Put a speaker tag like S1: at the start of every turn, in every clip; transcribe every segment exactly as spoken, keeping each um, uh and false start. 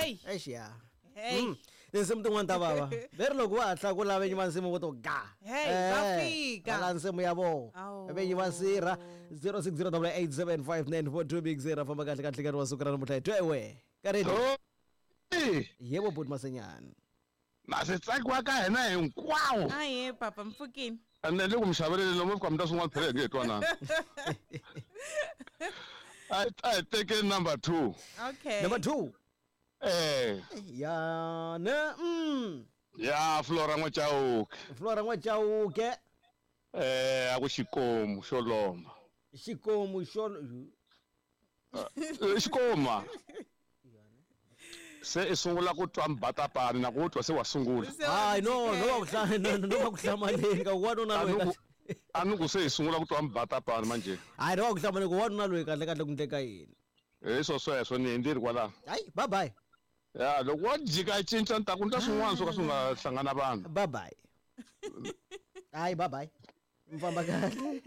S1: Hey.
S2: Eish ya.
S1: Hey.
S2: Tinsimu tin'wana ta vava. Veri loko wa hatla ku lava vinyi va nsimu vo to ga.
S1: Hey, va fika.
S2: La nsimu ya vona.
S1: Awu.
S2: Vinyi va sirha zero six zero double eight seven five nine four two big zero famba kahle kahle nkarhi wa siku ra namuntlha hi twewe. Karedi. Yebo buti Masenyana.
S3: Na se tsakiwa ka hina hinkwawo.
S1: Aye papa mpfukini.
S3: Ande le ku mixaveleni lomu fika mi ta swin'wana phela hi nge he twanani. I I take number two.
S1: Okay.
S2: Number two.
S3: Eh.
S2: Ya ne mm.
S3: Ya Flora N'Wachauke.
S2: Flora N'Wachauke.
S3: Eh a ku xikomu xo lomba.
S2: Xikomu xo
S3: xikoma. Se i sungula ku twa mbatapani na ku twa se wa sungula.
S2: Hayi no no va ku hla no no va ku hlamaleni ka wanuna loyi.
S3: A ni ku se i sungula ku twa mbatapani manje.
S2: Hayi no va ku hlamaleni ku wanuna loyi kahle kahle ku ndleka yini.
S3: Eh swo sweswo ni ndzi ri kwala.
S2: Hayi bye bye.
S3: Ya loko wo jika cinca ni ta ku ndla swin'wana swo ka swi nga hlangana vanhu.
S2: Bye bye. Hayi bye bye. Mfamba kahle.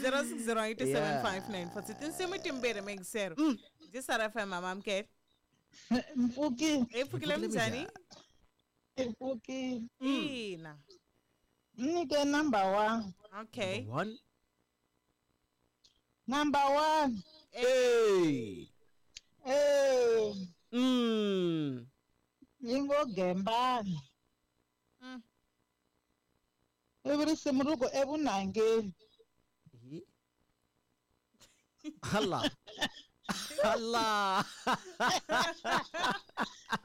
S1: zero six zero eight seven five nine four. Tinsimu timbirhi mixero. Ndzi F M mama mkele.
S4: Mpfukile.
S1: Mpfukile mnjani?
S4: Mpfukile.
S1: Ina.
S4: Nike number one.
S1: Okay.
S2: Number one.
S4: Number one.
S2: Hey.
S4: Hey.
S2: Mm.
S4: Yingo gembani.
S1: Mm.
S4: Every simuruko ebunangeni.
S2: Allah. Allah.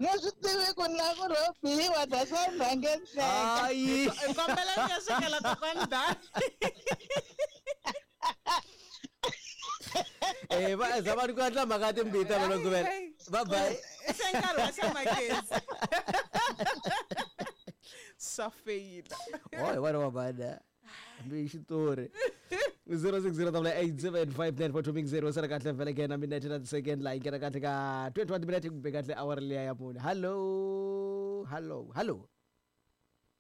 S4: Ngesitiwe kuna ku robiwa dasanangeni.
S2: Hayi.
S1: Kombela ngiyashekela kokwanda.
S2: Eh va zabantu ku atla makati mbita vona kubela. Bye bye.
S1: Senkarhi wa xa magezi. Swa feyila.
S2: Oi wena wa bana. Mbi xitori. zero six zero double eight seven five nine four two big zero sera kahle vele ke na minute na second la ingena kahle ka twenty-one minute kumbe kahle hour leya ya mune. Hello. Hello. Hello.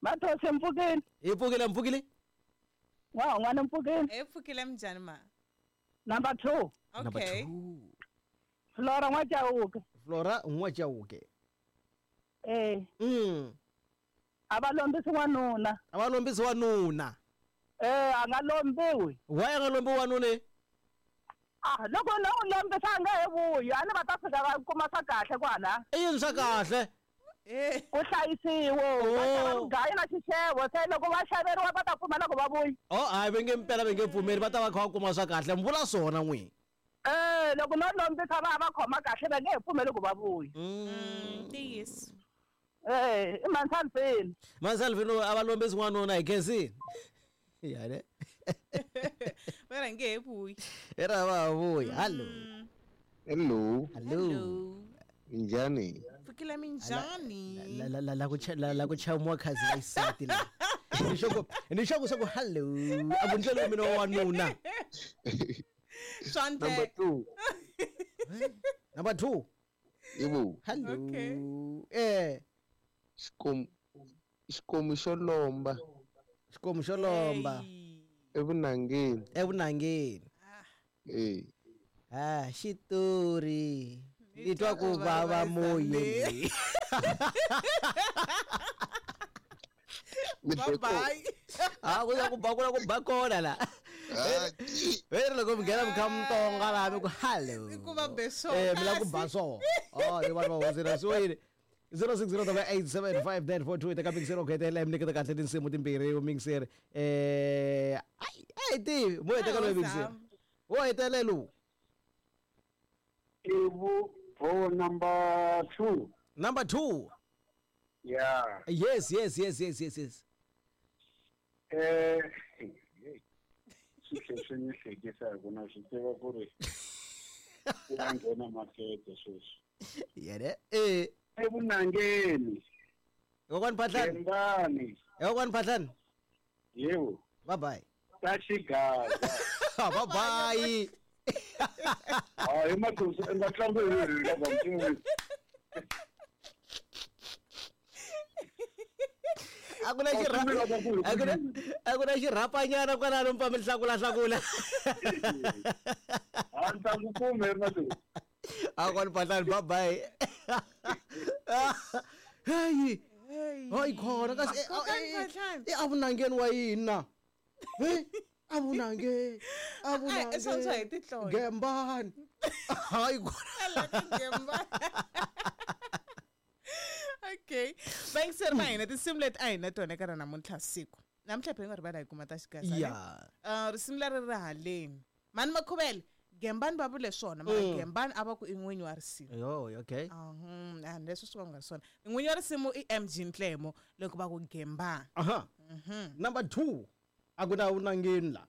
S4: Mathose mpfukile.
S2: Hi pfukile mpfukile.
S4: Wa n'wana mpfukile.
S1: E pfukile mnjani ma?
S4: Number two.
S1: Okay.
S2: Number two.
S4: Flora N'Wachauke.
S2: Flora N'Wachauke.
S4: Eh.
S2: Mm.
S4: Abalombisi wanuna.
S2: Abalombisi wanuna.
S4: Eh a nga lombiwi.
S2: Why a nga lombiwi wanuna?
S4: Ah loko no u lombisa nga he vuyi, a ni va ta fika va kuma swa kahle kwala.
S2: I yini swa kahle?
S1: Eh.
S4: Ku hlayisiwa, va ta va mugaya na xixevo, se loko va xaveriwa va ta pfumela ku va vuyi.
S2: Oh hayi va nge mpela va nge pfumeli va ta va kha va kuma swa kahle, mi vula swona n'wini.
S4: Eh loko no lombisa va va khoma kahle va nge he pfumeli ku va vuyi.
S1: Mm, ntiyiso.
S4: Eh, i Mansalvini.
S2: Mansalvini a va lombisi n'wanuna hi khensini. Ya ne.
S1: Va nge he vuyi.
S2: Era va vuyi. Hello.
S5: Hello.
S2: Hello.
S5: Minjhani?
S1: Pfukile minjhani?
S2: La la la la ku la la ku chamuwa khazi la isati la. Ni xoko ni xoko swa ku hello. A ku ndlela mina wa wanuna.
S1: Swante.
S5: Number two.
S2: Number two.
S5: Yebo.
S2: Hello.
S1: Okay.
S2: Eh.
S5: Xikomu xikomu xo lomba.
S2: Xikomu xo lomba.
S5: Evunangeni.
S2: Evunangeni.
S5: Eh.
S2: Ah, xitori. Ni twa ku vava moyeni.
S1: Bye bye.
S2: Ah, ku ya ku ba ku ku ba kona la. Veri loko mi nghena mi kha mi tonga la mi ku hello.
S1: Ku va be so.
S2: Eh mi la ku ba so. Oh, ni vanhu va hosela so yini. zero six zero double eight seven five nine four two eka mixero ku hetelela mi nyiketa kahle tinsimu timbirhi mixer. Eh ai ai tivi mo heteka loyi mixer. Wo hetelela.
S6: Ibu oh number two.
S2: Number two.
S6: Yeah.
S2: Yes, yes, yes, yes, yes, yes.
S6: Eh swi ni hlekisa hi ku na swi tiva ku ri ku nga nghena makete sweswi.
S2: Yene eh
S6: evunangeni.
S2: Kokwani Phahlane.
S6: Gembani.
S2: Kokwani Phahlane.
S6: Yebo.
S2: Bye bye.
S6: Ta xigaza.
S2: Bye bye.
S6: Hayi matusi nga tlangu hi la va.
S2: A ku na xirhapa a ku na a ku na xirhapanyana kwalano mi pfa mi hlakula hlakula.
S6: A ni ta ku kume matusi.
S2: A kwani Phahlani, bye bye. Hey, hayi khona kasi eh,
S1: Kokani
S2: eh,
S1: Phahlani.
S2: eh, avunangeni wa yini na? Hey, avunange,
S1: Ai, swa swa hi
S2: avunange.
S1: tihlola.
S2: Gembani. Hayi khona.
S1: Okay, vayingiseri va hina, tinsimu leti a hi na tona eka ra namuntlha siku namuntlha phela nga rivala hi kuma ta xigasa ne?
S2: Yeah.
S1: Uh, risimu leri ri haleni mani makhuvele gembani va vule swona mara
S2: Mm.
S1: gembani a va ku i n'winyi wa risimu.
S2: Yo, okay.
S1: Ahum, a leswi swi va nga ri swona, n'winyi wa risimu i M G Ntlemo loko va ku gembani.
S2: Aha. Number two. A ku na vunangeni la.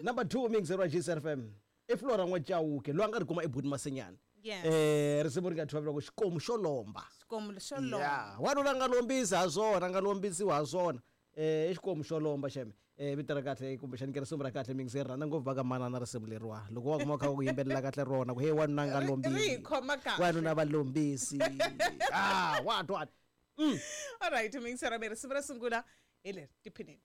S2: Number two mixer wa G S F M. I Flora N'wachauke loyi a nga ri kuma eButi Masenyana.
S1: Yes.
S2: Eh risimu ri nga thyiwa ku xikomu xo lomba.
S1: Xikomu xo lomba.
S2: Yeah, wanuna a nga lombisi ha swona, a nga lombisiwi ha swona. Eh i xikomu xo lomba xeme. Eh vito ra kahle kumbexani ke risimu ra kahle mixer rhandza ngopfu va ka manana risimu leriwa. Loko wa kuma u kha u yimbelela kahle rona ku hey wanuna a nga
S1: Ri- ri hi
S2: lombisi.
S1: khoma kahle.
S2: Wanuna va lombisi. Ah, what what.
S1: Alright, mixer mi risimu ro sungula hi leri tiphinini.